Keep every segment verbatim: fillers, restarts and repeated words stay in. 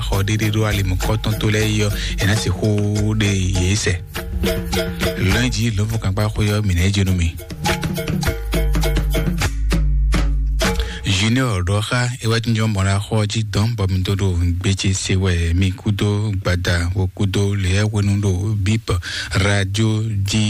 xɔ ɖéɖé ɖó ali mɔ̌kɔtɔn tó lɛ́ɛ yi ɔ́, è nǎ sixú ɖe yě sɛ. Lɔ̌nyijǐ lǒnfɔ́nkankpá xwé ɔ́, mǐ ná yi jɛ nú mi. Junior ɖɔ xá é wá jínjɔ́n mɔ ɖo axɔ jí dɔn bɔ mi dó ɖo gbéjé se wɛ mi kúdó gbada wo kúdó lě hwenu ɖo bip radio jí.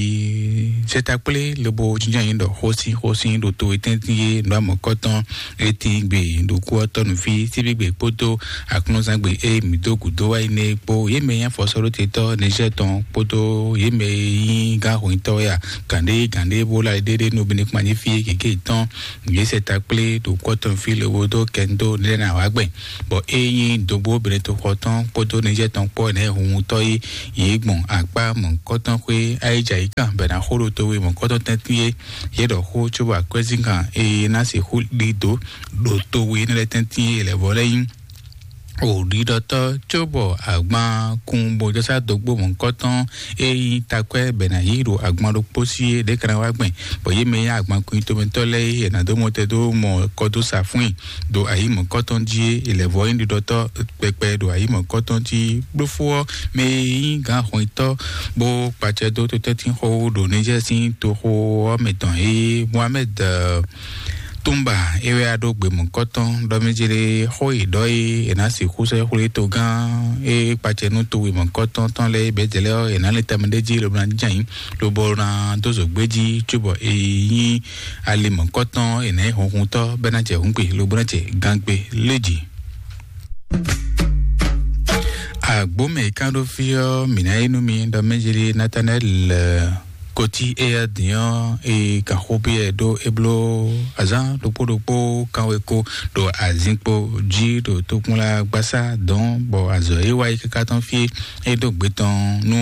Sɛtakplé lobo jínjɔ́n yín ɖɔ xósín xósín ɖo to etɛ́ntín é nǔ amɔ̌kɔtɔn étín gbe ɖo kú ɔ́ tɔ́ nǔ fí síbígbe kpódó aklúnzán gbe e mǐ dó gǔdo wá yi nɛ́ kpó yě mɛ nyí afɔsɔ́ɖótetɔ́ Nizɛ́ɛ tɔn kpódó yě mɛ e nyí gǎnhwɛntɔ́ wɛ a gǎnɖé gǎnɖé bó lá ɖéɖé nú Benikpánjí fí gěgé tɔn. Yě sɛ ta kplé ɖo kɔ́tɔn fí lobo dó kɛndo lɛ́ɛ ná wá gbɛn, bɔ é nyí dogbo Benetoxɔ tɔn kpódó Nizɛ́ɛ tɔn kpó ɛnɛ hunhun tɔ́ yí yě gbɔn akpá mɔ̌kɔtɔn xwé ayíjayíkan bɛ ná xó ɖo towe mɔ̌kɔtɔn tɛ́ntin é. Yě ɖɔ xó cóbɔ akwɛ́zínkan e ná sixú ɖi dǒ ɖo towe énɛ́ lɛ́ɛ tɛ́ntin é lɛ̌ vɔ lɛ́ nyí òɖiɖɔtɔ́ cóbɔ agban kun bó jɔ sá dogbo mɔ̌kɔtɔn e nyí takwɛ́ bɛ ná yí ɖo agban ɖokpó sí é ɖě kana wá gbɛn, bɔ yě mɛ nyí agban kun tomɛtɔ́ lɛ́ɛ é ná dó mɔ tɛ dó mɔ kɔ dó sa fún i ɖo ayǐ mɔ̌kɔtɔn jí é. È lɛ̌ vɔ nyí ɖiɖɔtɔ́ kpɛkpɛ ɖo ayǐ mɔ̌kɔtɔn jí. Blófó ɔ́ mɛ e nyí gǎn hɔnyitɔ́ bó kpacɛ dó totɛ́ntin xó ɖo Nizɛ́ɛ sín toxo ɔ́ mɛ tɔn é Mohamed Tumba é wɛ a ɖó gbemɔkɔtɔn ɖɔ mɛ jele xó yi ɖɔ yi è nǎ sixú sɛ́ xwlé togán é kpacɛ nú towe mɔkɔtɔn tɔn lɛ́ɛ bɛ́ jɛ lɛ́ɛ ɔ́ è nǎ lɛ́ tɛmɛ ɖé jí lobo ná jɛ ayǐ lobo ná dó zǒgbé jí cóbɔ è nyí ali mɔkɔtɔn è nǎ nyí hunhuntɔ́ bɛ́ ná jɛ hǔngbe lobo ná jɛ gangbe lé jí. Agbǒmɛ e kán ɖó fí ɔ́, mǐ ná yí nú mi ɖɔ mɛ jeli Natanɛ́li Koti éyɛ́ din ɔ́, e kan xó byɔ́ ɛ ɖó é bló azǎn ɖokpó ɖokpó kanweko ɖo azinkpo jí ɖo tokpɔnla gbasá dɔn, bɔ azɔ̌ e wá yi káká tɔn fí é ɖó gbe tɔn nú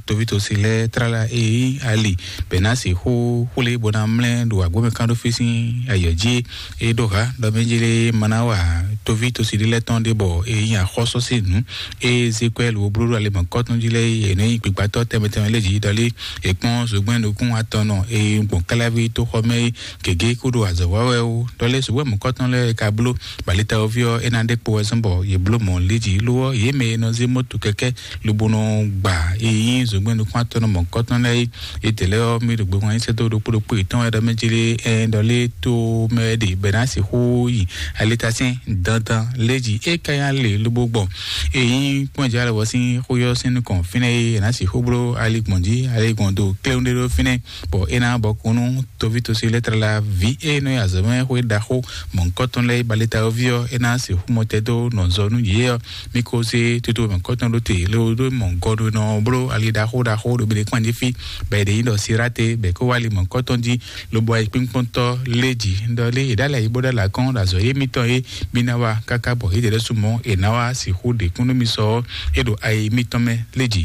tovítɔ́si lɛ́ɛ tlala e nyí ali bɛ̌ ná sixú xwlé bó ná mlɛ́ ɖo agbómɛkánɖófí sín ayɔ jí. É ɖó ha ɖɔ mɛ jeli ma ná wa tovítɔ́si ɖé lɛ́ɛ tɔn ɖé bɔ é nyí axɔ́sɔ́ sín nǔ. Ée Ezekiɛli wo bló ɖo ale mɔ̌kɔtɔn jí lɛ́ɛ é nɔ nyi gbigbatɔ́ tɛnmɛ tɛnmɛ lɛ́ɛ jí ɖɔlé è kpɔ́n zogbɛ́n nukún atɔn nɔ e gbɔn káláví tó xɔ mɛ é gěgé kó ɖo azɔ̌ wa wɛ ó. Ɖɔlé zogbɛ́n mɔ̌kɔtɔn lɛ́ɛ ka bló balitawoví ɔ́ é ná ɖe kpo wɛ zɔ́n bɔ yě bló mɔ̌ lé jí ló ɔ́ yě mɛ e nɔ zé mɔ́to kɛkɛ́ lobo nɔ gba e nyí zogbɛ́n nukún atɔn nɔ mɔ̌kɔtɔn lɛ́ɛ é. Yětɛn lɛ́ɛ ɔ́, mì ɖo gbe hwan nyi sɛ́dó ɖokpó ɖokpó yětɔn wɛ ɖɔ mɛ jlé ɛ ɖɔ lé to mɛ ɖe bɛ ná sixú yi alitasɛn dandan lé jí é ka nyí alě lobo gbɔn. Ényí kpɔ́n jɛ alɔ sín xó yɔ sín nukɔn fínɛ́ é ná sixú bló ali gbɔn jí ali gbɔn do kléwún ɖé ɖó fínɛ́, bɔ é ná bɔ kún nú toví tosi lɛ́ tlala ví é nɔ nyi azɔ̌mɛ xwé ɖaxó mɔ̌hunkɔtɔn lɛ́ɛ é baleta ɔ́ ví ɔ́, é ná sixú mɔ tɛ́ dó nɔ zɔ nú yě ɔ́. Mi ko se toto mɔ̌kɔtɔn ɖó te lé wo ɖó mɔ gɔɖonɔ bló ali ɖaxó ɖaxó ɖo bele kpán jí fí, bɔ è ɖe nyí ɖɔ Sirate bɛ kó wá ali mɔ̌kɔtɔn jí, lobo ayikpínkpɔ́ntɔ́ lé jǐ. Ɖɔ lé è ɖ'alɛ yi bó ɖ'alɛ akɔ́n ɖo azɔ̌ yé mitɔn é mi ná wá káká bɔ yědɛɛ ɖésú mɔ̌ è nǎ wá sixú ɖe kún nú mi sɔ ɔ́, é ɖo ayi mitɔn mɛ lé jǐ.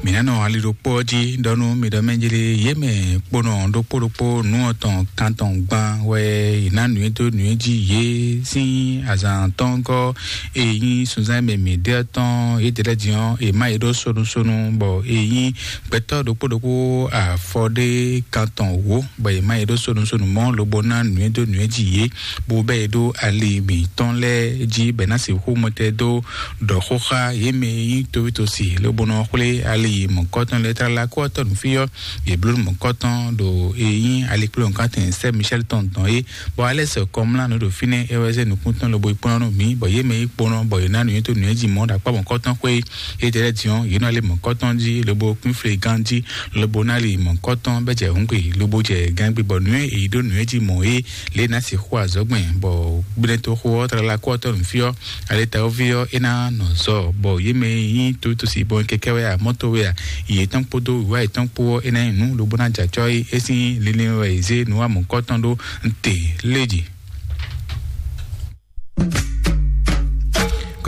Mǐ ná nɔ ali ɖokpó ɔ́ jí ɖɔ nú mi ɖɔ mɛ jlé yě mɛ kponɔ ɖokpó ɖokpó nǔ ɔtɔn kantɔn gban wɛ è nǎ nǔ e dó nǔ e jí yě sín azǎn tɔn gɔ́. E nyí sunzán e mɛ mǐ ɖe ɔ́ tɔn yědɛɛ lɛ́ɛ din ɔ́, è má yě ɖó sonusonu, bɔ e nyí gbɛtɔ́ ɖokpó ɖokpó afɔ ɖé kantɔn wǒ, bɔ è má yě ɖó sonusonu mɔ̌ lobo ná nǔ e dó nǔ e jí yě, bó bɛ́ yě ɖó ali mǐtɔn lɛ́ɛ jí bɔ è ná sixú mɔtɛn dó ɖɔ xó xá yě mɛ e nyí towítosi lobo nɔ xwlé ali mɔ̌kɔtɔn lɛ́ɛ tlala kó ɔ́ tɔn nǔ fí ɔ́, yě bló mɔ̌kɔtɔn ɖo e nyí alikplɔ́nkantɛn Sɛ́ Michɛ́l tɔn dɔn é, bɔ Alɛ́si kɔmlá nǔ ɖo fínɛ́ é wɛ zé nukúntɔn lobo yi kplɔ́n nú mǐ, bɔ yě mɛ yi kponɔ, bɔ yě ná nǔnywɛ́ dó nǔnywɛ́ jí mɔ̌ ɖo akpá mɔ̌kɔtɔn xwé é. Yědɛɛ lɛ́ɛ din ɔ́, yě nɔ lé mɔ̌kɔtɔn jí, lobo kún flé gán jí, lobo ná li mɔ̌kɔtɔn bɛ́ jɛ hǔngbe, lobo jɛ gangbe, bɔ nǔnywɛ́ e yě ɖó nǔnywɛ́ jí mɔ̌ é, lě ná sixú azɔ̌ gbɛn, bɔ gbɛtɔ́xó ɔ́ tlala kó ɔ́ tɔ́ nǔ fí ɔ́, alɛtawóví ɔ́, é ná nɔ zɔ, bɔ yě mɛ yi nyí tovítosi bɔn kɛkɛ wɛ a, mɔ́to wɛ a, yě tɔn kpódó wǐwá yětɔn kpó ɔ́, é ná nyí nǔ lobo ná jɛ acɔ́ é. É sín linlin wɛ è zé nǔ wa mɔ̌kɔtɔn ɖó te lé jí.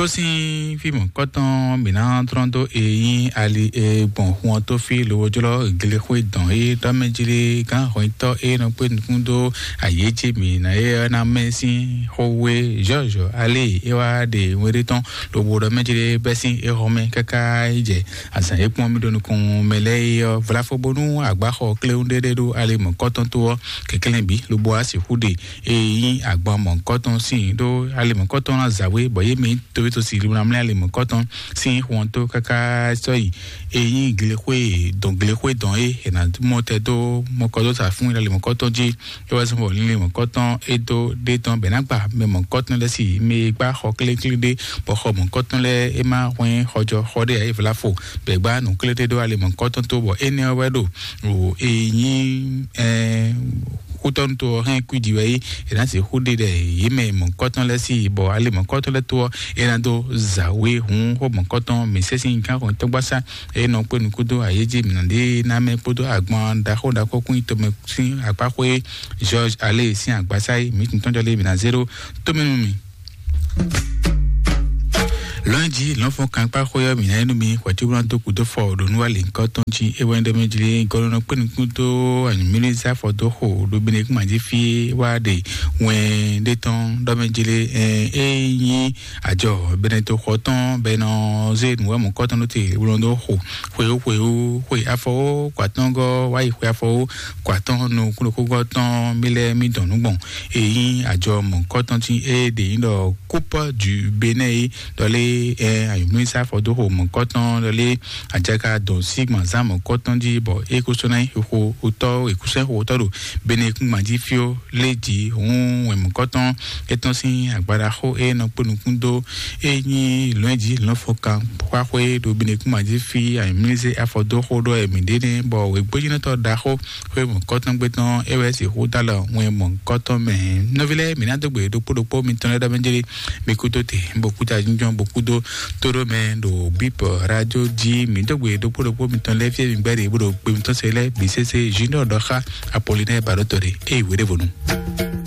Sín fí mɔ̌kɔtɔn mǐ ná tlɔ́n dó e nyí ali e gbɔn hun ɔ́ tó fí lowojlɔ́ glexwé dɔn e dɔ́mɛjlé gán hɔnyitɔ́ e nɔ kpé nukún dó ayéjé mǐ ná e ɔ́ ná mɛ sín xówé George ale e wá ɖe wéɖé tɔn lobo ɖɔ mɛjlé bɛ́ sín exɔ mɛ káká yi jɛ azǎn e kpɔ́n mì ɖo nukɔn mɛ lɛ́ɛ é ɔ́ vlafo bónú agbáxɔ kléwún ɖé ɖé ɖó ali mɔ̌kɔtɔn tó ɔ́ kɛkɛ́lɛ́n bǐ lobo wá sixú ɖe e nyí agban mɔ̌kɔtɔn sín ɖó ali mɔ̌kɔtɔn ná zǎwe bɔ yé mɛ towétɔ́ si limlamlá ali mɔ̌kɔtɔn sín xɔntó káká sɔ́yi e nyí glexwé dɔn glexwé dɔn é è nǎ mɔ tɛ dó mɔkɔ dó sa fún ali mɔ̌kɔtɔn jí. É wá sɔn bɔ lílé mɔ̌kɔtɔn é dó ɖé tɔn bɛ̌ ná gba mɛ mɔ̌kɔtɔn lɛ́ɛ si mɛ e gbá xɔ kléklé ɖé bɔ xɔ mɔ̌kɔtɔn lɛ́ɛ é má hwɛ́n xɔjɔ xɔ ɖé ǎ é vlafo bɛ̌ gbá nǔ kléklé ɖó ali mɔ̌kɔtɔn tó bɔ énɛ́ ɔ́ wɛ ɖo o e nyí ɛ kútɔ́nú tó ɔ́ hɛn kwíji wɛ yí è nǎ sixú ɖe ɖɛ yě mɛ mɔ̌kɔtɔn lɛ́ɛ sí bɔ ali mɔ̌kɔtɔn lɛ́ɛ tó ɔ́ é ná dó zǎwe hǔn xó mɔ̌kɔtɔn mǐ sɛ́ sín gán xɔn tɔ́gbásá é nɔ kpé nukúndó ayéjí mǐ nɔ ɖe ná mɛ kpódó agban ɖaxó ɖaxó kún tɔmɛ sín akpáxwé George ale sín agbásá yí mǐ tún tɔ́jɔ lé mǐ ná zé ɖó tómɛnú mi. Lɔ̌nyijǐ lɔ̌nfɔ́n kankpá xwé ɔ́ mǐ ná é nú mi hwɛ̌cúblán dó kúdó fɔ ɖo nú wá lě ŋkɔ́tɔn jí é wɛ ɖɔ mɛ jlé gɔ́lɔ́nɔ kpé nukún dó anyǔmílízá fɔ dó xo ɖo bene kún mǎjí fí wá ɖe wɛn ɖé tɔn ɖɔ mɛ jlé ɛ é nyí àjɔ bene tó xɔ tɔn bɛ nɔ zé nǔwɛ́mɔ kɔ́tɔn ɖó te wlɔn dó xo xweyó xweyó xwe afɔwó kɔ atɔ́ngɔ́ wá yi xwe afɔwó kɔ atɔ́n nukúnukúngɔ́ tɔn mí lɛ́ɛ mí dɔn nǔ gbɔn. Èyí àjọ mɔ̌kɔtɔn tí é ɖe nyí ɖɔ Coupe du Bénin é ɖɔlé ɛ ayɔmísá fɔdóxo mɔ̌kɔtɔn ɖɔlé àjaka dɔn sígbọn zán mɔ̌kɔtɔn jí bɔ é kó sɔ́ ná nyí xixo wotɔ́ é kó sɔ́ nyí xixo wotɔ́ ɖo Bénin kúngban jí fíó lé jí hǔn wɛn mɔ̌kɔtɔn é tɔ́n sín agbadaxó é nɔ kpó nukún dó é nyí lɔ̌nyijǐ lɔ̌nfɔkan xwáxwé ɖo Bénin kúngban jí fí ayɔmísé afɔdóxó ɖɔ ɛmǐ ɖé nɛ́ bɔ wěgbójínɔtɔ́ ɖaxó xwé mɔ̌kɔtɔn gbé tɔn é wɛ sixú dó alɔ wɛn mɔ̌kɔtɔn mɛ. Nɔví lɛ́ɛ mǐ ná dó gbe ɖokpó ɖokpó mitɔn lɛ́ɛ ɖɔ mɛ jélé mi kú tó te bó kú ta jínjɔ́n bó kú dó tó ɖó mɛ ɖo bíp radio jí mǐ dó gbe ɖokpó ɖokpó mitɔn lɛ́ɛ fíɛ mi gbɛ́ ɖe bó ɖo gbe mitɔn se lɛ́ɛ bǐ sésé junior ɖɔ xá Apollinaire Baɖótɔ ɖe é yi wěɖévonu.